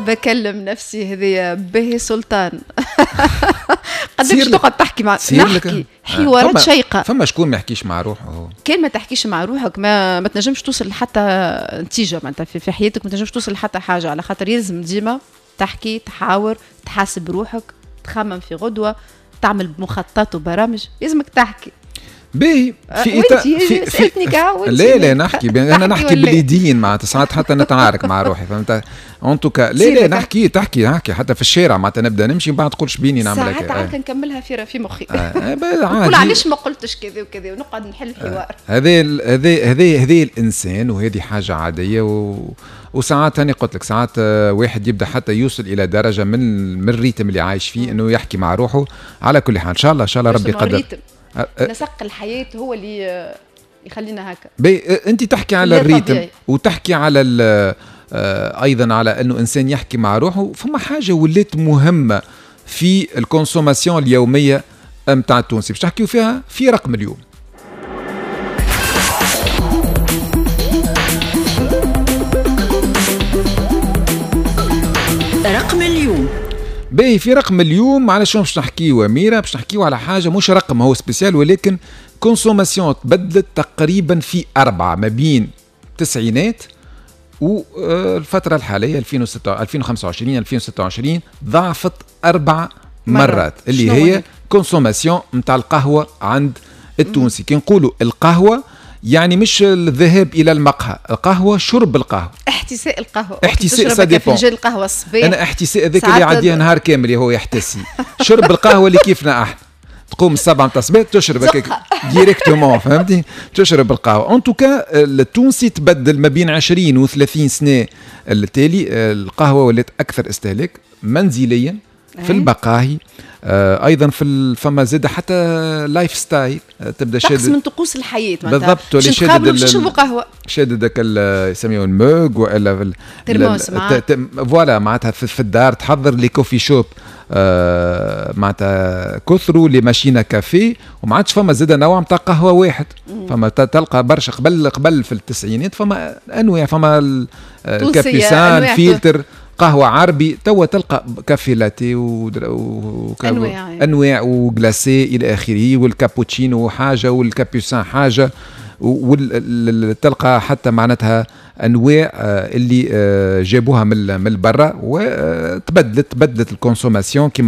بكلم نفسي هذه باهي سلطان. قداش تقعد تحكي مع نحكي حوارات شيقة. فما شكون ما يحكيش مع روحه؟ كان ما تحكيش مع روحك ما تنجمش توصل لحتى نتيجة معناتها في حياتك، ما تنجمش توصل لحتى حاجة، على خاطر يلزم ديما تحكي، تحاور، تحاسب روحك، تخمم في غدوه، تعمل مخططات وبرامج، لازمك تحكي. باهي في إطار في لا لا نحكي، انا نحكي باليدين معناتها ساعات حتى نتعارك مع روحي، فهمت؟ en tout cas لا لا نحكي تحكي نحكي حتى في الشارع معناتها نبدا نمشي من بعد تقول شبيني نعمل هكا. ساعات نكملها في مخي. نقول علاش ما قلتش كذا وكذا ونقعد نحل حوار. هذا هذا هذا الانسان، وهذه حاجة عادية. وساعات انا قلت لك ساعات واحد يبدا حتى يوصل الى درجه من ال rythme اللي عايش فيه انه يحكي مع روحه. على كل حال ان شاء الله ان شاء الله ربي يقدر. نسق الحياة هو اللي يخلينا هكا. انت تحكي على ال rythme وتحكي على ايضا على انه انسان يحكي مع روحه. فما حاجة ولات مهمة في ال consommation اليومية نتاع التونسي باش تحكيو فيها في رقم اليوم. رقم اليوم. باهي في رقم اليوم على شنو باش نحكيو أميرة؟ باش نحكيو على حاجة مش رقم هو spécial، ولكن consommation تبدلت تقريبا في 4 ما بين التسعينات والفترة الحالية 2025 2026 ضعفت 4 مرات اللي هي consommation نتاع القهوة عند التونسي. كي نقولوا القهوة يعني مش الذهاب الى المقهى، القهوة شرب القهوة، احتساء القهوة، احتساء ça dépend. فنجان القهوة الصباح، انا احتساء هذاك اللي يعديها نهار كامل هو يحتسي. شرب القهوة اللي كيفنا احنا، تقوم 7 نتاع الصباح تشرب هكاك directement، فهمتي؟ تشرب القهوة. en tout cas التونسي تبدل ما بين 20 و 30 سنة التالي، القهوة ولات اكثر استهلاك منزليا في المقاهي، ايضا في فما زاد حتى lifestyle تبدا شاد من طقوس الحياة بالضبط، ولا شادد باش قهوة، شادد هكا يسميوه ال mug والا ترموس voilà معناتها في الدار تحضر les coffee shops معناتها كثروا les machines à café، وما عادش فما زاد نوع نتاع قهوة واحد. فما تلقى برشا قبل في التسعينات فما انواع، فما ال capucin، filtre، قهوة عربي. توا تلقى café latte انواع و glacé الى اخره، والكابوتشينو حاجة وال capucin حاجة، وتلقى حتى معناتها انواع اللي جابوها من برا، وتبدلت تبدلت ال consommation كما